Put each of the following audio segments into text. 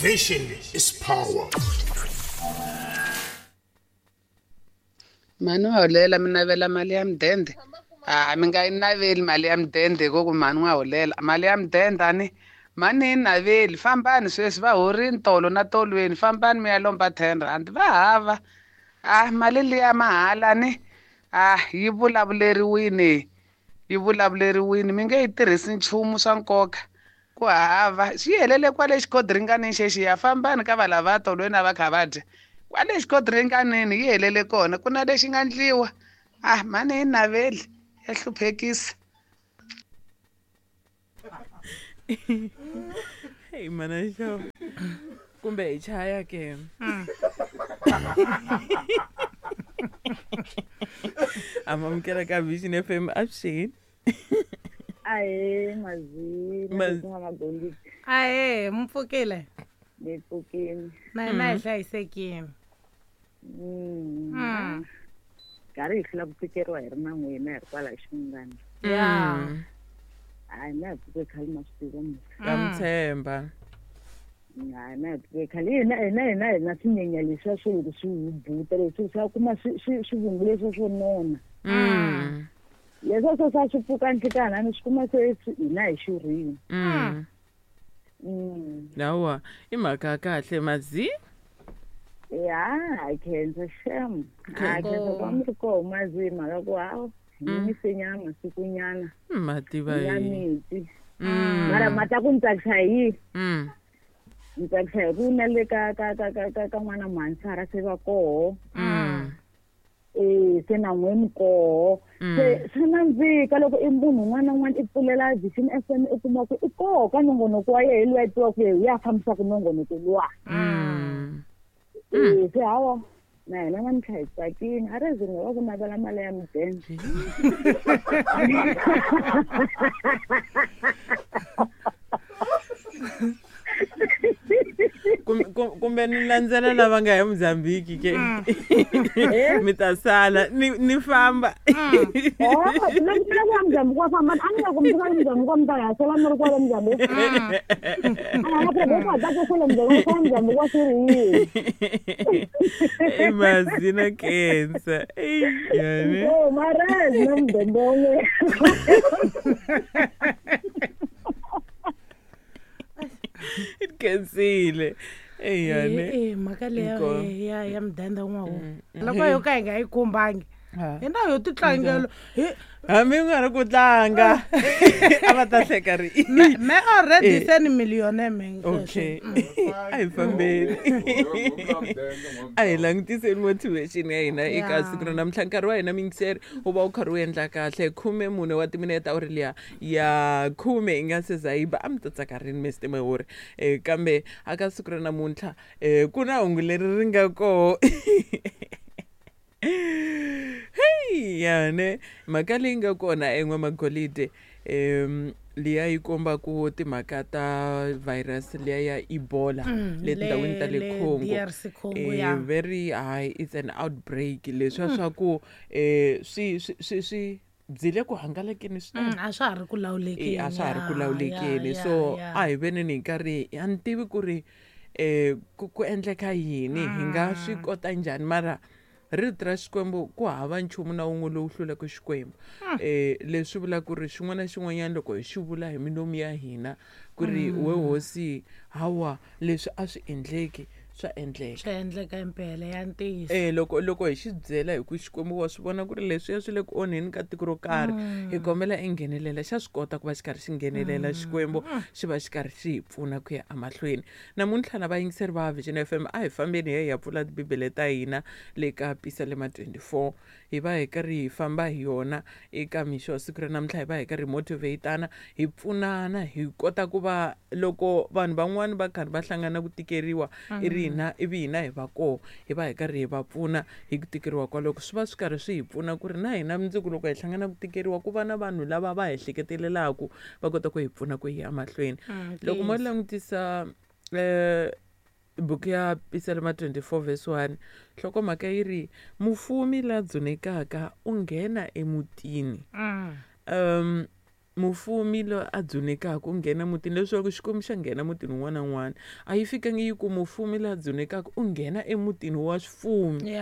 Vision is power. Mhani wa holela mi navela mali ya mudende? A mi nga yi naveli mali ya mudende hi ku mhani wa holela mali ya mudende a ni mhani yi naveli fambani sweswi va horini tolo na tolweni fambani mi ya lomba R10 va hava a mali liya mahala ni a yi vulavuleriwini yi vulavuleriwini mi nge yi tirhisi nchumu swa nkoka ku hava swi helele kwale xikhodiringanini xexiya fambani ka valava tolweni a va kha va dya kwale xikhodiringanini yi helele kona ku na lexi nga ndliwa a mhani yi naveli ya hluphekisa. Hey mana xo kumbe hi chaya ke amamukela ka Vision FM avuxeni. Ahee mazini magolidi. Ahee mi pfukile? Ni pfukile na hina hi hlayisekile. Karhi hi hlula ku tikeriwa hi ri na n'wina hi ri kwala ximungana. Ya hayi na hi pfuke khale ma swi tiva mos. Ka mi tshemba. Hayi na hi pfuke khale hina hina hina hina swinyenya leswiya swo loko swi hubuta leswi swa kuma swivungu leswiya swo nona. Leswiya swo swa swi pfuka nhlikana ni swi kuma se hina hi xurhile. Hawa i mhaka ya kahle mazi. Ya hi khensa xem. Ha khensa ku va mi ri koho mazi mhaka ku hawu hi yimise masikunyana. Mativa ya miti. Mara mata ku ni tsakisa hi yini? Ni tsakisa hi ku na le ka ka ka ka ka ka n'wana mhansara se va koho. Se na n'we mi koho. Se swa nandzika loko i munhu un'wana na un'wana i pfulela Vision FM i kuma ku i koho ka nongonoko wa yehe luwa i tiva ku yehe ya fambisaka nongonoko luwa. Se hawa na hina namuntlha hi tsakile a ri zi nga va ku navela mali ya mudende. Kumbe ni landzela lava nga ya Mozambique ke mi ta sala ni famba. Mozambique wa famba a ni nga ku mi fika Mozambique wa mi ta hasela mi ri kwale Mozambique. A na ku ta ku sele Mozambique wa Mozambique wa swi ri yini. Mazina kensa. Yani. Oh marezi na mudende wun'we. Khensile. Eyane. Mhaka leya ya ya mudende n'wawo. Loko yo ka hi nga yi khumbangi. Hi na yo titlangelo. Hambi nga ri ku tlanga. A va ta hleka ri. Me already se ni millionaire me. Okay. A hi fambeni. A hi langutiseni motivation ya hina eka siku ra namuntlha nkarhi wa hina mingiseri wu va wu karhi wu endla kahle 14 wa timinete awuri liya ya 10 yi nga se za yi ba a mi ta tsaka rini Mr Mehori kambe aka siku ra namuntlha ku na hungu leri ri nga koho. Hey yane mhaka leyi nga kona en'wamagolide liya yi komba ku timhaka ta virus liya ya Ebola le tindhawini ta le Congo very high it's an outbreak leswiya swa ku swi swi swi byi le ku hangalakeni swinene. A swa ha ri ku lawulekeni. A swa ha ri ku lawulekeni so a hi veneni hi karhi a ni tivi ku ri ku endleka yini hi nga swi kota njhani mara rito ra Xikwembu ku hava nchumu na wun'we lowu hlulaka Xikwembu. Leswi vula ku ri xin'wana na xin'wanyana loko hi xi vula hi milomu ya hina ku ri we hosi hawa leswi a swi endleki swa endleka. Swa endleka impela ya ntiyiso. Loko hi xi byela hi ku Xikwembu wa swi vona ku ri leswiya swi le ku onheni ka tiko ro karhi hi kombela i nghenelela xa swi kota ku va xi karhi xi nghenelela Xikwembu xi va xi karhi xi hi pfuna ku ya emahlweni. Namuntlha na vayingiseri va Vision FM a hi fambeni hi ya pfula tibibele ta hina le ka Pisalema 24 hi va hi karhi hi famba hi yona eka mixo wa siku ra namuntlha hi va hi karhi hi motivatana hi pfunana hi kota ku va loko vanhu van'wani va karhi va hlangana ku tikeriwa i ri hina ivi hina hi va koho hi va hi karhi hi va pfuna hi ku tikeriwa kwaloko swi va swi karhi swi hi pfuna ku ri na hina mundzuku loko hi hlangana ku tikeriwa ku va na vanhu lava va hi hleketelelaka va kota ku hi pfuna ku hi ya mahlweni. Loko mo langutisa buku ya Pisalema 24 verse 1 nhlokomhaka yi ri mufumi la dzunekaka u nghena emutini. Mufumi loyi a dzunekaka u nghena mutini, leswaku Xikwembu xa nghena mutini wun'wana na wun'wana. A yi fikangi yi ku mufumi la dzunekaka u nghena emutini wa swifumi.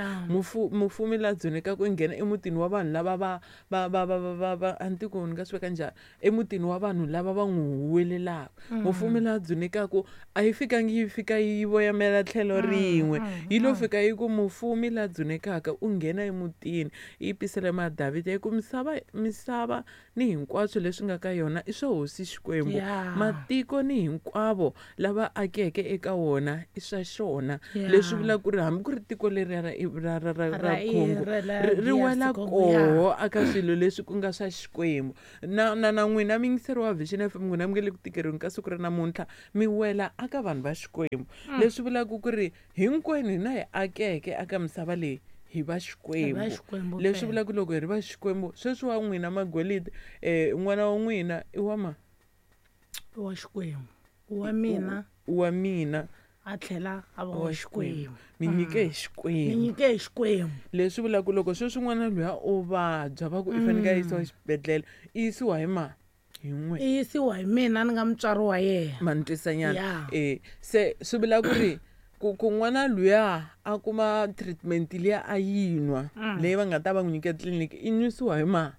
Mufumi la dzunekaka u nghena emutini wa vanhu lava va va va va va va va a ni tivi ku ni nga swi veka njhani, emutini wa vanhu lava va n'wi huwelelaka. Mufumi la dzunekaka a yi fikangi yi fika yi voyamela tlhelo rin'we, yi lo fika yi ku mufumi la dzunekaka u nghena emutini. Yi pisalema ya Davhida yi ku misava ni hinkwaswo leswi nga ka yona i swa Hosi Xikwembu. Matiko ni hinkwavo lava akeke eka wona i swa xona. Leswi vulaka ku ri hambi ku ri tiko leriya ra Congo ri wela koho aka swilo leswi ku nga swa Xikwembu. Na na na n'wina muyingiseri wa Vision FM, n'wina mi nga le ku tikeriweni ka siku ra namuntlha, mi wela aka vanhu va Xikwembu. Leswi vulaka ku ri hinkwenu hina hi akeke aka misava leyi hi va Xikwembu. Leswi vulaka loko hi ri va Xikwembu, sweswi wa n'wina Magolide, n'wana wa n'wina i wa ma? Wa Xikwembu. Wa mina. Wa mina. A tlhela a va wa Xikwembu. Mi nyike hi Xikwembu. Mi nyike hi Xikwembu. Leswi vulaka loko sweswi n'wana luya o vabya va ku i fanele a yisiwa exibedhlele, i yisiwa hi ma? Hi n'we. I yisiwa hi mina ni nga mutswari wa yena. Ma ni twisanyana. Se swi vula ku ri ku n'wana luya a kuma treatment liya a yi nwa leyi va nga ta va n'wi nyika tliliniki, i nwisiwa hi ma?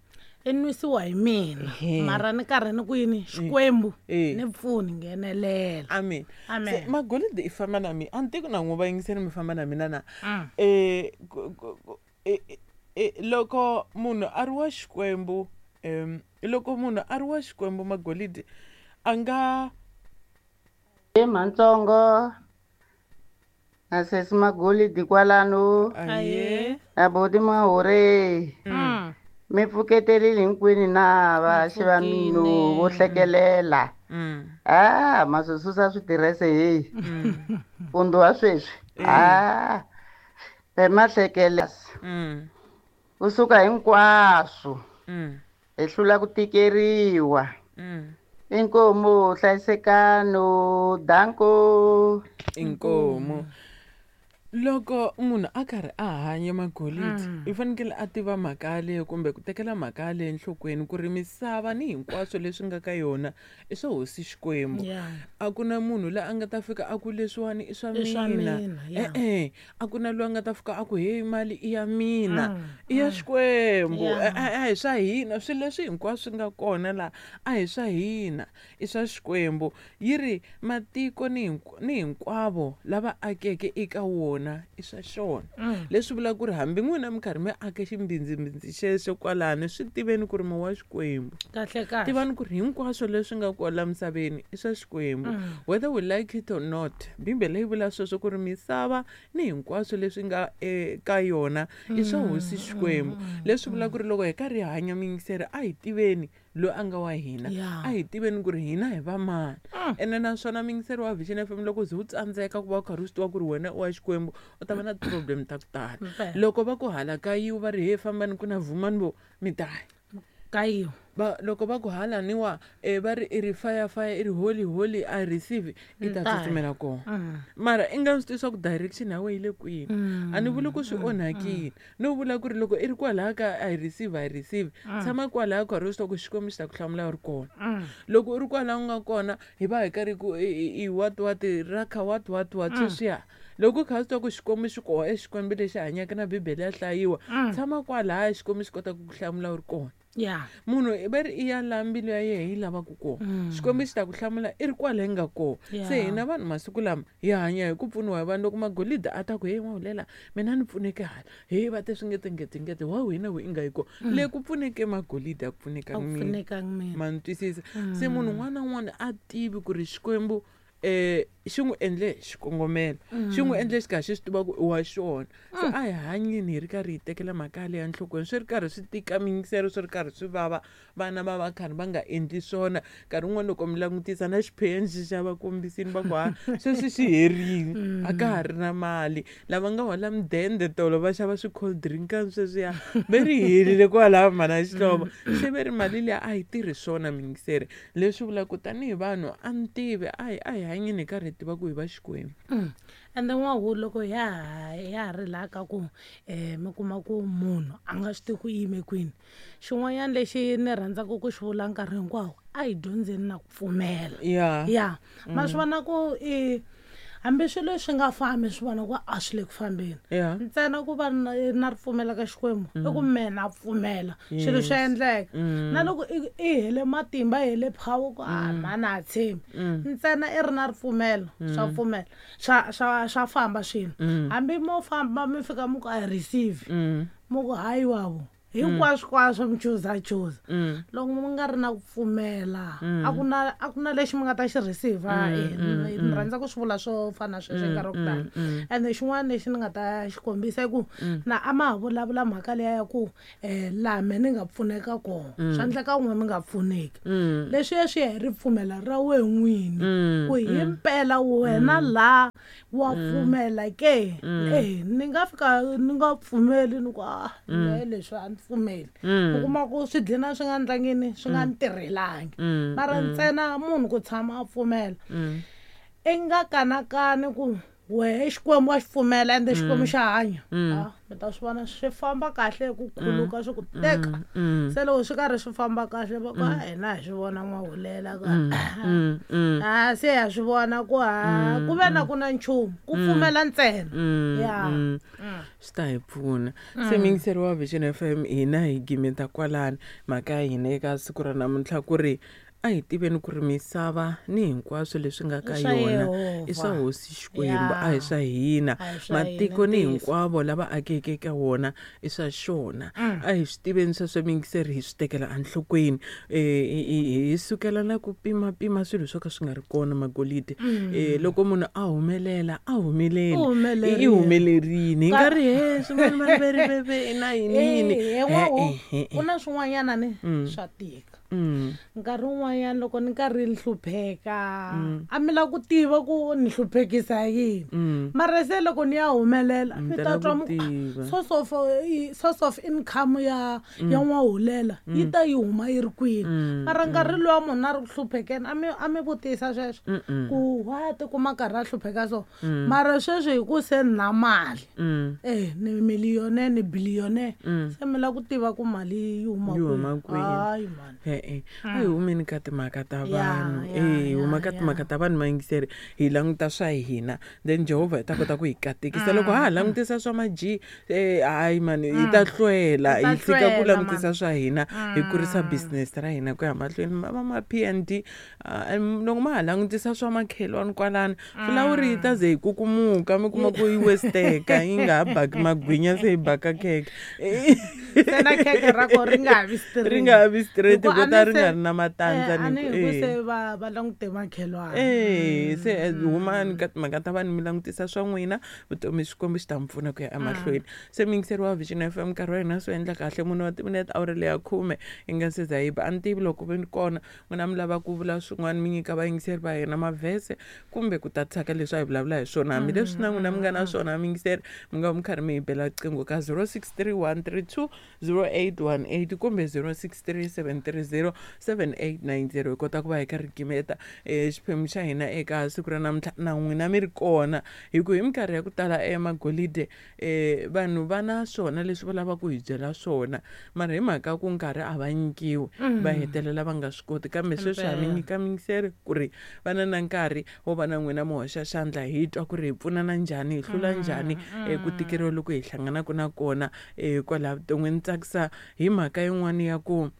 I nwisiwa hi mina. Mara ni karhi ni ku yini? Xikwembu ni pfuni nghenelela. Amen. Se Magolide i famba na mina. A ni tivi na n'wi va yingiseni mi famba na mina na. Loko munhu a ri wa Xikwembu, loko munhu a ri wa Xikwembu Magolide a nga Matsongo na sesi Magolide kwalano na boti Mahore. Mi pfuketerile hinkwenu na vaxi va mino vo hlekelela. Ma swi susa switirese heyi. Mpfundzu wa sweswi. Ma hlekela. Kusuka hinkwaswo. Hi hlula ku tikeriwa. Inkomu hlayisekano danko. Inkomu. Loko munhu a karhi a hanya Magolide, i fanekele a tiva mhaka yaleyo kumbe ku tekela mhaka yaleyo enhlokweni ku ri misava ni hinkwaswo leswi nga ka yona i swa Hosi Xikwembu. A ku na munhu loyi a nga ta fika a ku leswiwani i swa mina. A ku na loyi a nga ta fika a ku hey mali i ya mina, i ya Xikwembu. A hi swa hina swilo leswi hinkwaswo swi nga kona laha, a hi swa hina, i swa Xikwembu. Yi ri matiko ni hinkwavo lava akeke eka wona i swa xona. Leswi vulaka ku ri hambi n'wina mi karhi mi ake ximbindzimbindzi xexo kwalano, swi tiveni ku ri mi wa Xikwembu. Tivani ku ri hinkwaswo leswi nga kwala misaveni i swa Xikwembu. Whether we like it or not, Bibele yi vula sweswo ku ri misava ni hinkwaswo leswi nga eka yona i swa Hosi Xikwembu. Leswi vulaka ku ri loko hi karhi hi hanya miyingiseri, a hi tiveni loyi a nga wa hina, a hi tiveni ku ri hina hi va mani. Ene naswona muyingiseri wa Vision FM, loko ze u tsandzeka ku va u karhi u swi tiva ku ri wena u wa Xikwembu, u ta va na ti-problem ta ku tala. Loko va ku hala ka yiwa va ri he fambani ku na vhumani vo mi ta ya ka yiwa. Loko va ku hala niwa, va ri i ri fire fire, i ri holy holy, I receive, i ta tsutsumela kona. Mara i nga swi tivi swa ku direction ya wena yi le kwini. A ni vuli ku swi onhakile, no vula ku ri loko i ri kwalaya ka I receive, I receive, tshama kwalaya karhi u swi tiva ku Xikwembu xi ta ku hlamula u ri kona. Loko u ri kwalaya u nga kona, hi va hi karhi ku i what what raka what what what sweswiya. Loko u kha u swi tiva ku Xikwembu xi kona, i Xikwembu lexi hanyaka na Bibele ya hlayiwa, tshama kwalaya Xikwembu xi kota ku ku hlamula u ri kona. Munhu va ri i ya laha mbilu ya yena yi lavaka kona, Xikwembu xi ta ku hlamula i ri kwala yi nga kona. Se hina vanhu masiku lama hi hanya hi ku pfuniwa hi vanhu. Loko Magolide a ta ku hey Mahulela mina ni pfuneke hala, hey va te swi ngete ngete ngete, wa wena we i nga yi kona. Le ku pfuneke Magolide a ku pfunekanga mina. Ma ni twisisa? Se munhu un'wana na un'wana a tivi ku ri Xikwembu xi n'wi endle xikongomelo, xi n'wi endle xi karhi xi swi tiva ku i wa xona. Se a hi hanyeni hi ri karhi hi tekela mhaka yaleyo enhlokweni, swi ri karhi swi tika miyingiselo, swi ri karhi swi vava, vana va va karhi va nga endli swona. Nkarhi wun'wani loko mi langutisa na xiphemu xi xa va kombisini va ku ha sweswi xi herile, a ka ha ri na mali. Lava nga hola mudende tolo va xava swi-cold drink sweswiya ve ri herile kwalaya mhana Xihlovo. Se ve ri mali liya a yi tirhi swona miyingiseri. Leswi vulaka ku tanihi vanhu a ni tivi, a hi hanyeni hi karhi hi tiva ku hi va Xikwembu. Ende n'wahu loko ya ha ri laha ka ku mi kuma ku munhu a nga swi tivi ku yime kwini, xin'wanyana lexi ni rhandzaka ku xi vula nkarhi hinkwawo, a hi dyondzeni na ku pfumela. Ya ma swi vona ku i hambi swilo swi nga fambi, swi vona ku a swi le ku fambeni, ntsena ku va na ripfumela ka Xikwembu i ku mehe na pfumela swilo swi endleka. Na loko i hele matimba, i hele power ku a mhani a tshembi, ntsena i ri na ripfumelo, swa pfumela, swa famba swilo. Hambi mo famba mi fika mi ku a receive, mi ku hayi wavo hinkwaswo kwaswo mi chuza chuza, loko mi nga ri na ku pfumela, a ku na lexi mi nga ta xi receive. Ni rhandza ku swi vula swo fana na sweswo nkarhi wa ku tala. Ende xin'wana lexi ni nga ta xi kombisa i ku na a ma ha vulavula mhaka liya ya ku laha me ni nga pfuneka kona, swa endleka n'we mi nga pfuneki. Leswiya swi ya hi ripfumelo ra wehe n'wini, ku himpela wena laha wa pfumela ke. Ni nga fika ni nga pfumeli, ni ku a leswi a ni pfumeli, u kuma ku swi dlina swi nga ndlangini, swi nga ni tirhelangi. Mara ntsena munhu ku tshama a pfumela, i nga kanakani ku wehe Xikwembu wa xi pfumela, ende Xikwembu xa hanya, mi ta swi vona swi famba kahle ku khuluka swi ku teka. Se loko swi karhi swi famba kahle, va ku hina hi swi vona n'wahulela ku a se ha swi vona ku ha ku ve na ku na nchumu ku pfumela ntsena. Ya, swi ta hi pfuna. Se muyingiseri wa Vision FM, hina hi gimeta kwalani mhaka ya hina eka siku ra namuntlha, ku ri a hi tiveni ku ri misava ni hinkwaswo leswi nga ka yona i swa hosi Xikwembu, a hi swa hina. Matiko ni hinkwavo lava akeke eka wona i swa xona. A hi swi tiveni sweswo muyingiseri, hi swi tekela enhlokweni, hi sukela na ku pimapima swilo swo ka swi nga ri kona magolide. Loko munhu a humelela, a humeleli, i humelerini, hi nga ri he swin'wana maveriveve na yini yini. Ku na swin'wanyana ni swa tika. Nkarhi wun'wanyana loko ni karhi ni hlupheka, a mi lava ku tiva ku ni hluphekisa yini, mara se loko ni ya humelela, mi ta twa source of income ya n'wahulela yi ta yi huma yi ri kwini. Mara nkarhi luwa munhu a ri ku hluphekeni, a mi vutisa sweswo ku wa tikuma karhi a hlupheka so. Mara sweswi hi ku se ni na mali, ni millionaire, ni billionaire, se mi lava ku tiva ku mali yi huma kwini. Hayi mani, a hi humeni ka timhaka ta vanhu, hi huma ka timhaka ta vanhu mayingiseri, hi languta swa hina, then Jehovha hi ta kota ku hi katekisa. Loko ha ha langutisa swa maji, hayi mani, hi ta hlwela. Hi tshika ku langutisa swa hina, hi kurisa business ra hina ku ya mahlweni. Va ma PND, loko ma ha langutisa swa makhelwani kwalani, fulawuri yi ta ze yi kukumuka, mi kuma ku yi westeka, yi nga ha baki magwinya, se yi baka khekhe. Se na khekhe ra ko ri nga ha vi straight, ri nga ha vi straight, ko ta ri nga ri na matandza. Ni ku se va langute makhelwani. Se humani ka timhaka ta vanhu, mi langutisa swa n'wina vutomi, Xikwembu xi ta mi pfuna ku ya emahlweni. Se muyingiseri wa Vision FM, nkarhi wa hina swi endla kahle munhu wa timinete awara leya 10 yi nga se za yi ba. A ni tivi loko vi kona n'wina mi lava ku vula swin'wana, mi nyika vayingiseri va hina mavhese kumbe ku tatisa ka leswi a hi vulavula hi swona, hambileswi na n'wina mi nga na swona muyingiseri, mi nga mi karhi mi hi bela riqingho ka 063132 0818 kumbe 0637307890, hi kota ku va hi karhi gimeta xiphemu xa hina eka siku ra namuntlha na n'wina mi ri kona. Hi ku hi minkarhi ya ku tala emagolide, vanhu va na swona leswi va lavaka ku hi byela swona, mara hi mhaka ku nkarhi a va nyikiwi, va hetelela va nga swi koti. Kambe sweswi ha mi nyika miyingiseri ku ri va na na nkarhi wo va na n'wina, mi hoxa xandla, hi twa ku ri hi pfunana njhani, hi hlula njhani ku tikeriwa loko hi hlanganaka na kona kwalaha vuton'wini. Tsakisa hi mhaka yin'wana ya ku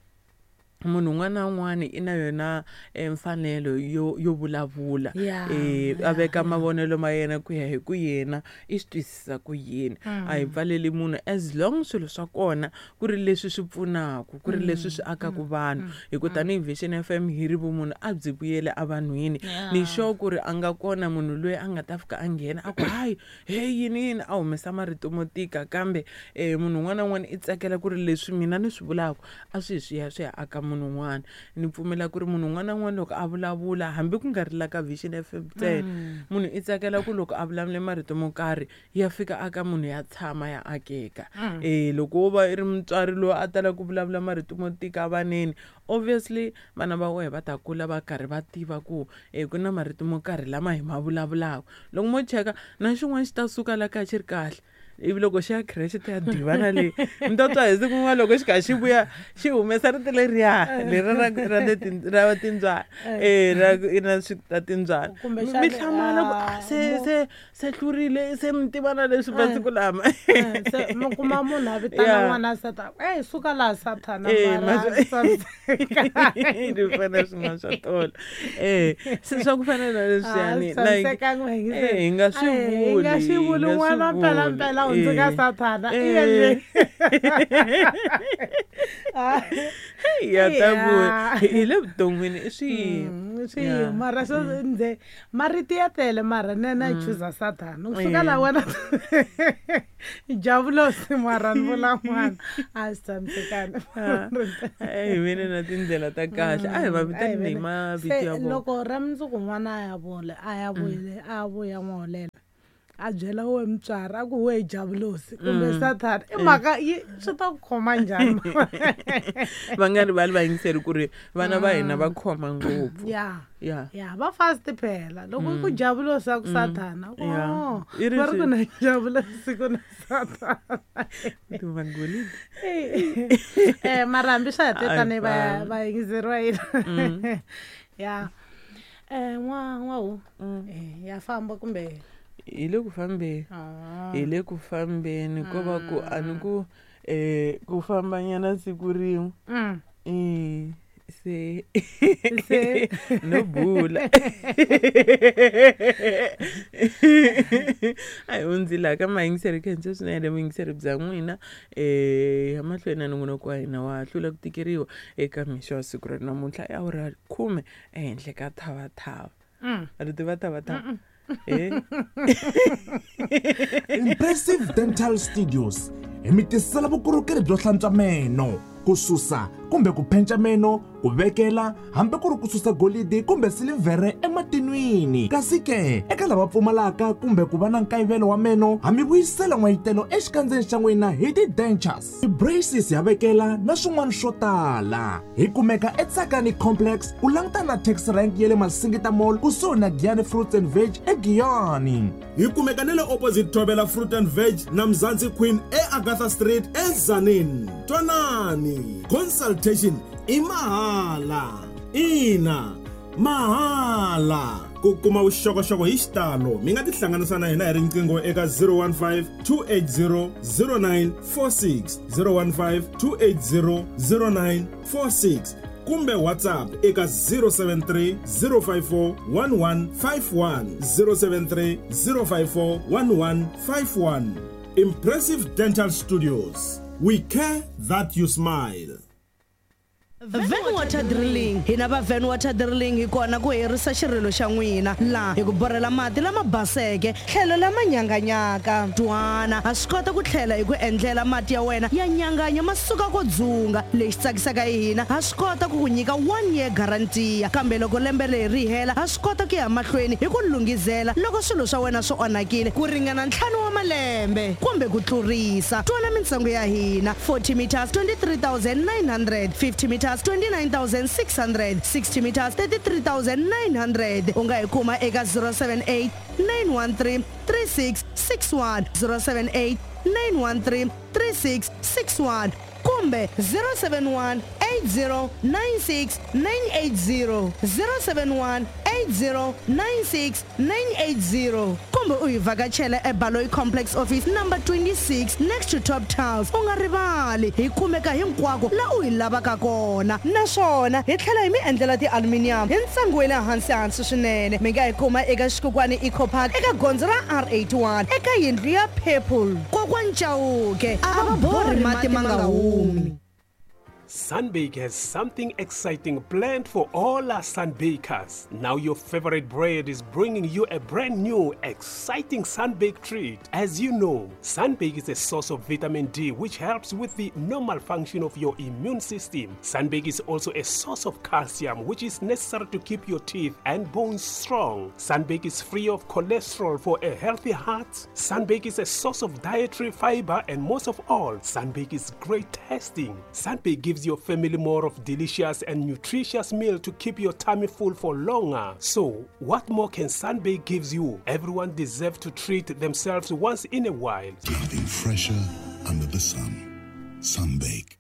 munhu un'wana na un'wana i na yona mfanelo yo vulavula, a veka mavonelo ma yena ku ya hi ku yena i swi twisisa ku yini. A hi pfaleli munhu as long swilo swa kona ku ri leswi swi pfunaka, ku ri leswi swi akaka vanhu. Hi ku tanihi Vision FM hi ri vumunhu a byi vuyele evanhwini. Ni sure ku ri a nga kona munhu loyi a nga ta fika a nghena a ku hayi he yini yini, a humesa marito mo tika, kambe munhu un'wana na un'wana i tsakela ku ri leswi mina ni swi vulaka a swi hi swi ya swi ya aka munhu. munhu un'wana. Ni pfumela ku ri munhu un'wana na un'wana loko a vulavula, hambi ku nga ri la ka Vision FM ntsena, munhu i tsakela ku loko a vulavule marito mo karhi ya fika aka munhu ya tshama ya akeka. Loko wo va i ri mutswari loyi a tala ku vulavula marito mo tika vaneni, obviously vana va wehe va ta kula va karhi va tiva ku ku na marito mo karhi lama hi ma vulavulaka. Loko mo cheka na xin'wana xi ta suka la kaya xi ri kahle, ivi loko xi ya creche ti ya divana leyi mi ta twa hi siku rin'wana loko xi kha xi vuya xi humesa rito leriya leri ra le ra timbyana, ra i na swi ta timbyana. Mi hlamala ku se se hlurile, se mi tiva na leswi masiku lama. Se mi kuma munhu a vitana n'wana Sathana, ey suka laha Sathana, mara ni fana swin'wana swa tolo. Se swa ku fana na leswiyani, like hi nga swi vuli, hi nga swi vuli n'wana mpela mpela hundzuka Sathana. Ya ta vuya hi le vuton'wini i swi swi mara swo ndze marito ya tele, mara nene a chuza Sathana u suka la wena javulosi, mara ni vula n'wana a swi tshamisekanga. Hi vene na tindlela ta kahle, a hi va vitani hi mavito ya vona. Loko ra mundzuku n'wana a ya vula a ya vuyile a vuya n'waholela a byela we mutswari a ku we javulosi kumbe Sathana, i mhaka yi swi ta ku khoma njhani? Va nga rivali vayingiseri ku ri vana va hina va khoma ngopfu. Ya ya va fast phela loko ku javulosi a ku Sathana, va ri ku na javulosi ku na Sathana. Mara hambi swa ha tetane vayingiseri va hina. Ya n'wahu ya famba kumbe hi le ku fambeni, hi le ku fambeni ko va ku a ni ku ku fambanyana siku rin'we se no bula. A hi hundzile ka mayingiseri, khensa swinene vuyingiseri bya n'wina. Ya mahlweni na nongonoko wa hina wa hlula ku tikeriwa eka mixo wa siku ra namuntlha i awara 10 ehenhla ka thavathava. A ri tiva thavathava? Impressive Dental Studios hi mi tisela vukorhokeri byo hlantswa meno, ku susa kumbe ku phenca meno, ku vekela hambi ku ri ku susa golidi kumbe silivhere ematinwini. Kasi ke eka lava pfumalaka kumbe ku va na nkayivelo wa meno, ha mi vuyisela n'wayitelo exikandzeni xa n'wina hi ti-dentures, ti-braces ya vekela na swin'wana swo tala. Hi kumeka eTsakani Complex ku langutana na taxi rank ya le Masingita Mall kusuhi na Giyani Fruits and Veg eGiyani. Hi kumeka na le opposite Thobela Fruit and Veg na Mzansi Queen eAgatha Street eZanin. Twanani, consultation i mahala. Ina, mahala. Ku kuma vuxokoxoko hi xitalo mi nga tihlanganisa na hina hi riqingho eka 015 280 0946, 015 280 0946 kumbe WhatsApp eka 073 054 1151, 073 054 1151. Impressive Dental Studios, we care that you smile. Van Water Drilling, hina va Van Water Drilling hi kona ku herisa xirilo xa n'wina laha hi ku borhela mati lama baseke tlhelo lama nyanganyaka. Twana ha swi kota ku tlhela hi ku endlela mati ya wena ya nyanganya ma suka ko dzunga. Lexi tsakisaka hi hina, ha swi kota ku ku nyika 1 year guarantee, kambe loko lembe leri ri hela ha swi kota ku ya mahlweni hi ku lunghizela loko swilo swa wena swi onhakile ku ringana 5 wa malembe kumbe ku tlurisa. Twana mintsengo ya hina: 40 meters 23,900, 50 meters 29,600, 60 meters 33,900. U nga hi kuma eka 078 913 3661, 078 913 3661 kumbe 071 8096 980, 071 8096 980 kumbe u hi vhakachela eBaloyi Complex Office number 26 next to Top Tiles. U nga rivali, hi kumeka hinkwako la u hi lavaka kona, naswona hi tlhela hi mi endlela ti-aluminium hi ntsengo wa le hansi hansi swinene. Mi nga hi kuma eka Xikukwani Eco Park eka gondzo ra R81 eka yindlu ya Purple. Kokwani Chauke a va borhi mati ma nga humi. Sunbake has something exciting planned for all our Sunbakers. Now your favorite bread is bringing you a brand new, exciting Sunbake treat. As you know, Sunbake is a source of vitamin D which helps with the normal function of your immune system. Sunbake is also a source of calcium which is necessary to keep your teeth and bones strong. Sunbake is free of cholesterol for a healthy heart. Sunbake is a source of dietary fiber and most of all, Sunbake is great tasting. Sunbake gives your family more of delicious and nutritious meal to keep your tummy full for longer. So, what more can Sunbake gives you? Everyone deserves to treat themselves once in a while. Nothing fresher under the sun. Sunbake.